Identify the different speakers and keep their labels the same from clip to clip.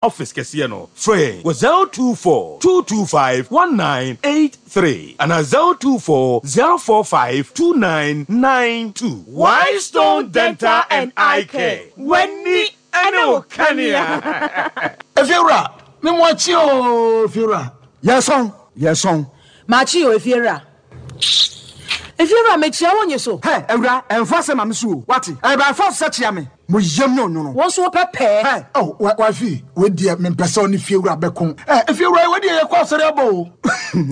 Speaker 1: Office kɛseɛ no, frɛ yɛn wɔ 024 225 1983 anaa 024 045 2992. White Stone Dental and Eye Care, w'ani ne wo kanea.
Speaker 2: Efiewura, me mo akye oo Efiewura.
Speaker 3: Yɛsɔn, yɛsɔn.
Speaker 4: Makye oo Efiewura. Efiewura, mekyia wo nye so.
Speaker 3: Hɛ, awura, ɛmfa asɛm ma me so o, woate? Ɛyɛ by force sɛ kyia me. Mo yam nyɛ onwono.
Speaker 4: Wo nso wopɛ pɛɛ.
Speaker 3: Hɛ!
Speaker 2: Oh, wa, wifey, wei deɛ mempɛ sɛ ɔne fiewura bɛko. Ɛ, efiewura, wei deɛ yɛkɔ asɔre aba o.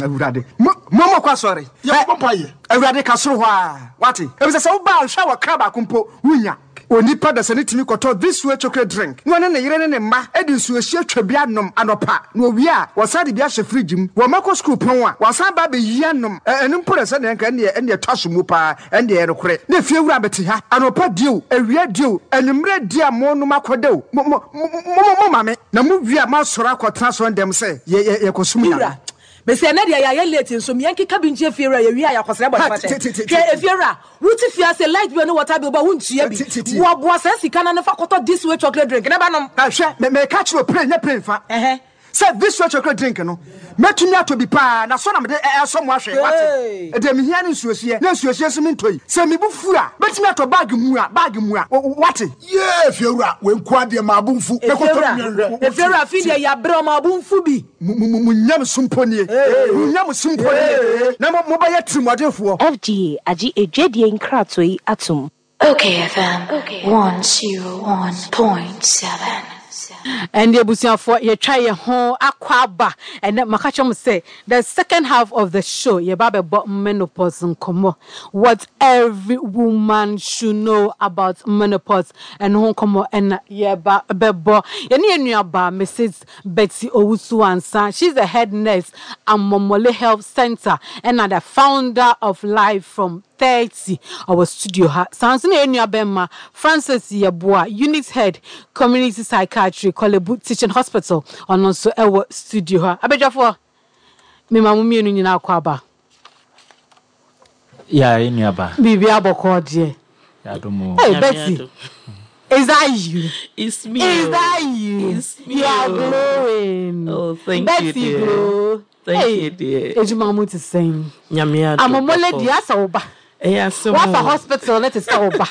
Speaker 3: Awurade, mo, mo mokɔ asɔre. Hɛ!
Speaker 2: Yɛkɔbɔ mpaeɛ.
Speaker 3: Awurade, ka soro hɔ ara, woate? Efisɛ sɛ woba a, nhwɛ a wɔkra baako mpo, wunnya. Onipa dasani tumi kɔtɔ This Way chocolate drink na ɔne ne yere ne ne mma de nsuohyeɛ twa bi anom anɔpa, na wɔwie a, wɔsan de bi ahyɛ fridge mu. Wɔn mma kɔ sukuu pɔn a, wɔasan aba abɛyi anom. Ɛ, ɛno mpo na sɛdeɛ anka ɛnneɛ, ɛnneɛ ɛtɔ asom mu paa. Ɛndeɛ ɛyɛ nokorɛ. Na efiewura bɛte ha, anɔpa die o, awia die o, anwummerɛ die a monom akɔda o, mo, mo, mo, mo, moma me. Na mowie a, moasɔre akɔtena asɔrendɛm sɛ yɛ, yɛ, yɛkɔsom
Speaker 4: Me
Speaker 3: Nyame.
Speaker 4: wura, mese ɛnɛ deɛ yɛayɛ late nso me yɛnkeka bi nkyerɛ fiewura, yɛwie a yɛakɔsrɛ
Speaker 3: Ha,
Speaker 4: bɔne fakyɛ.
Speaker 3: te, te, te,
Speaker 4: Hwɛ
Speaker 3: te,
Speaker 4: efiewura, wote fie ase light bill ne water bill ba wontua bi.
Speaker 3: te, te, te.
Speaker 4: Boaboa saa sika no ano fa kɔtɔ this way chocolate drink na bɛnom.
Speaker 3: Ha, hwɛ, me, meka kyerɛ wo, pray nyɛ pray mfa.
Speaker 4: Ɛhɛ.
Speaker 3: Sɛ this way chocolate drink no, mɛtumi atɔ bi paa, na sɔ na mede ɛsɔ mo ahwɛ, wate? Deɛ mehia ne nsuohyeɛ, na nsuohyeɛ nso mentɔ yi. Sɛ me bo fu a, mɛtumi atɔ bag mua, bag mua, wate?
Speaker 2: Yee, Fiewura, wei nko ara deɛ maa bo mfu. Mɛkɔtɔ bi nhwɛ.
Speaker 4: Efiewura, afei deɛ yɛabrɛ o, maa bo mfu bi.
Speaker 3: Mo, mo, mo nyamesom mpo nie, mo nyamesom mpo nie, na mo, mobɛyɛ tirimuɔdenfoɔ.
Speaker 5: FDA agye adwadie nkratoɔ yi atom.
Speaker 6: Okay FM 101.7.
Speaker 7: Ɛnde abusuafoɔ yɛtwa yɛn ho akɔ aba ɛnɛ maka kyerɛ mo sɛ the second half of the show yɛba abɛbɔ menopause nkɔmmɔ what every woman should know about menopause ɛno ho nkɔmmɔ ɛna yɛba bɛbɔ yɛne yɛn nuabaa Mrs Betty Owusu Ansah she's the head nurse Amomole Health Center ɛna the founder of Life from 30 ɔwɔ studio ha. Saa nso na yɛn nua bɛmma Francis Yeboah, Unit Head, Community Psychiatry, Korle Bu Teaching Hospital, ɔno nso wɔ studio ha. Abadwafoɔ, mema mo mmienu nyinaa akwaaba.
Speaker 8: Yeah, yɛn nua ba.
Speaker 7: Biribiara bɔkɔɔ deɛ.
Speaker 8: Yɛadom o.
Speaker 7: Hey Betty, is that you?
Speaker 9: It's me.
Speaker 7: Is that you?
Speaker 9: It's me.
Speaker 7: You are glowing.
Speaker 9: Oh, thank
Speaker 7: Betty
Speaker 9: you, dear.
Speaker 7: Glow.
Speaker 9: Thank
Speaker 7: Hey,
Speaker 9: you, dear.
Speaker 7: Edwuma mu te sɛn?
Speaker 9: Nyame adom.
Speaker 7: Amomole
Speaker 9: bɔkɔ.
Speaker 7: deɛ asɛ wo ba.
Speaker 9: Ɛyɛ asɛm
Speaker 7: Wafa
Speaker 9: o.
Speaker 7: hospital ne te sɛ wo ba.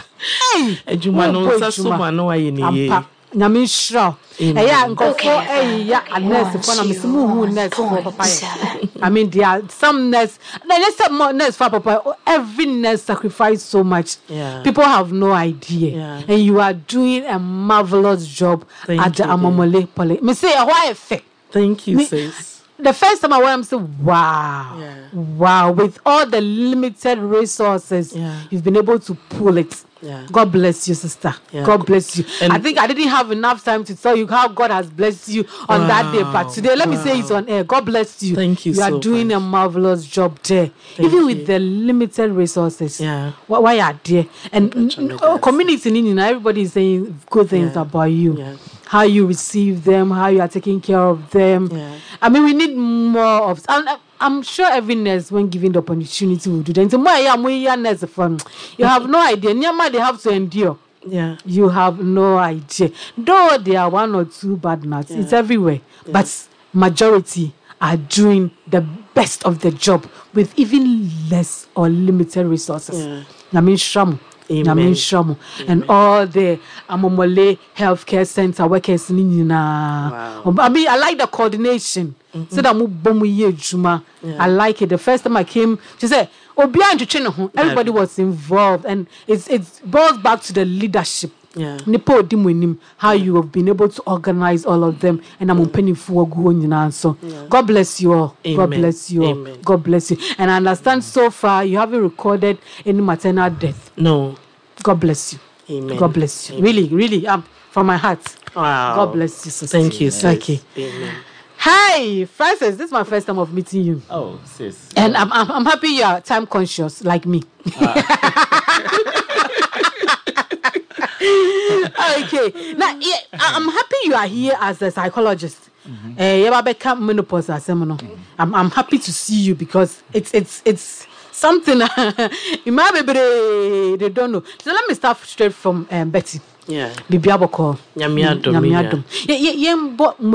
Speaker 7: Hey,
Speaker 9: Adwuma no
Speaker 7: wobɔ
Speaker 9: nsa so
Speaker 7: adwuma.
Speaker 9: ma no ayɛ ne yie.
Speaker 7: Ampa. Nyame nhyira wo.
Speaker 9: Amen.
Speaker 7: Ɛyɛ a nkurɔfoɔ
Speaker 6: Okay FM
Speaker 7: ɛyeya anɛɛsefoɔ na mese monhuu nɛɛsefoɔ papa yɛ. I mean there are some nurse na ɛnyɛ sɛ mo nurse foɔ papa every nurse sacrifice so much.
Speaker 9: Yeah.
Speaker 7: People have no idea.
Speaker 9: Yeah.
Speaker 7: And you are doing a marvelous job
Speaker 9: Thank
Speaker 7: at the
Speaker 9: you, dear.
Speaker 7: Amomole Poly. Mese ɛhɔ ayɛ fɛ.
Speaker 9: Thank you,
Speaker 7: Me,
Speaker 9: sis.
Speaker 7: the first time I went, I'm saying, wow,
Speaker 9: Yeah.
Speaker 7: wow. With all the limited resources,
Speaker 9: Yeah.
Speaker 7: you've been able to pull it.
Speaker 9: Yeah.
Speaker 7: God bless you, sister.
Speaker 9: Yeah.
Speaker 7: God bless you.
Speaker 9: And
Speaker 7: I think I didn't have enough time to tell you how God has blessed you on that day, but
Speaker 9: Wow.
Speaker 7: today, let me say it
Speaker 9: Wow.
Speaker 7: on air. God bless you.
Speaker 9: Thank you
Speaker 7: You are
Speaker 9: so
Speaker 7: doing a
Speaker 9: much.
Speaker 7: marvelous job there,
Speaker 9: Thank
Speaker 7: even with
Speaker 9: you.
Speaker 7: the limited resources.
Speaker 9: Yeah.
Speaker 7: Why are there? And
Speaker 9: Mpacho me dance.
Speaker 7: community, everybody is saying good things
Speaker 9: Yeah.
Speaker 7: about you.
Speaker 9: Yeah.
Speaker 7: How you receive them, how you are taking care of them.
Speaker 9: Yeah.
Speaker 7: I mean, we need more of. And I'm sure every nurse, when given the opportunity, will do that. So, more yeah, more yeah, nurse from you have no idea. Nyama they have to endure.
Speaker 9: Yeah.
Speaker 7: You have no idea. Though there are one or two bad nuts, it's
Speaker 9: Yeah.
Speaker 7: everywhere.
Speaker 9: Yeah.
Speaker 7: But majority are doing the best of the job with even less or limited resources.
Speaker 9: Yeah.
Speaker 7: Nyame nhyira mo. Nyame
Speaker 9: Amen.
Speaker 7: nhyira mo. And
Speaker 9: Amen.
Speaker 7: all the Amomole Healthcare Center workers ni nyinaa.
Speaker 9: Wow.
Speaker 7: I mean, I like the coordination. So that mo bɔ mo yɛ adwuma.
Speaker 9: Yeah.
Speaker 7: I like it. The first time I came, she said, Obiara ntwetwe ne ho. Everybody
Speaker 9: Dabi.
Speaker 7: was involved, and it's boils back to the leadership.
Speaker 9: Yeah.
Speaker 7: Nipa a odi mo anim, how you have been able to organize all of them, and I'm mpanimfoɔ gu hɔ nyinaa nso.
Speaker 9: Yeah.
Speaker 7: God bless you all. God
Speaker 9: Amen.
Speaker 7: bless you all.
Speaker 9: Amen.
Speaker 7: God bless you. And I understand so far you haven't recorded any maternal death.
Speaker 9: No.
Speaker 7: God bless you.
Speaker 9: Amen.
Speaker 7: God bless you.
Speaker 9: Amen.
Speaker 7: Really, really, from my heart.
Speaker 9: Wow.
Speaker 7: God bless you, sister.
Speaker 9: Thank you, sis.
Speaker 7: Okay.
Speaker 9: Amen.
Speaker 7: Hi, Francis. This is my first time of meeting you.
Speaker 8: Oh, sis.
Speaker 7: And I'm happy you are time conscious like me. Okay. Now, yeah, I'm happy you are here as a psychologist. Eh, yɛba menopause asɛm no. I'm happy to see you because it's something mmaa bebree they don't know. So let me start straight from Betty.
Speaker 9: Yeah.
Speaker 7: Biribiara bɔkɔɔ.
Speaker 9: Nyame adom,
Speaker 7: Nyame
Speaker 9: yeah.
Speaker 7: adom. Yɛmbɔ